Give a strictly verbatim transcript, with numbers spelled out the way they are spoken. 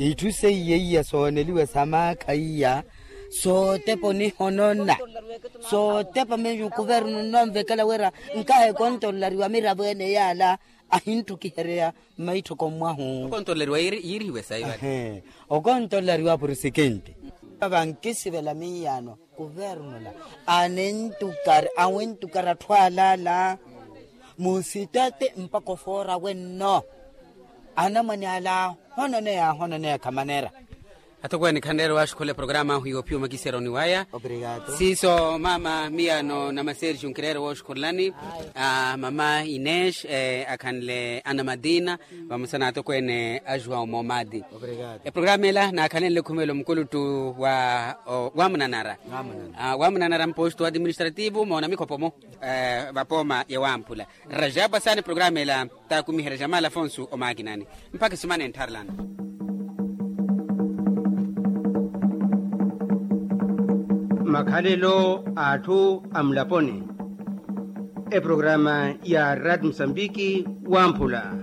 Itthu seiya iya sooneliwa sa maakha iya, sootepa onihonona, sootepa miyo kuvernu nnonvekela wira nkaha ekontololariwa miravo ene yaala ahinttukihereya mmaitthoko mwahu. Okontololariwa yiirihiwe sayi vale. Okontololariwa purisikinti. Vankisivela miyaano kuvernula anentukari awintukari atthu alaala, musitate mpakha ofoora wenno. Anamwane ala ahononeya ahononeya khamanera. Atokweene khanreera owaxukhula eprograma ahu iwo phiyo makisero ni waya. Siiso mama miyano na masergio nkireera owoxukhulani. Mama ines akhanle ana madina vamosa na atokweene a juwao momadi. Eprograma ela naakhalenle khumela omukuluttu wa wamunanara. Wamunanara mpostu administrativu moona mikhopo-mo vapooma ya wamphula. Rajab asaani programa ela taakumiherya jamal afonso omakinani. Mpakha esumana enttharelana. Makhalelo a atthu a mulaponi. Eprograma ya rad musambiki wamphula.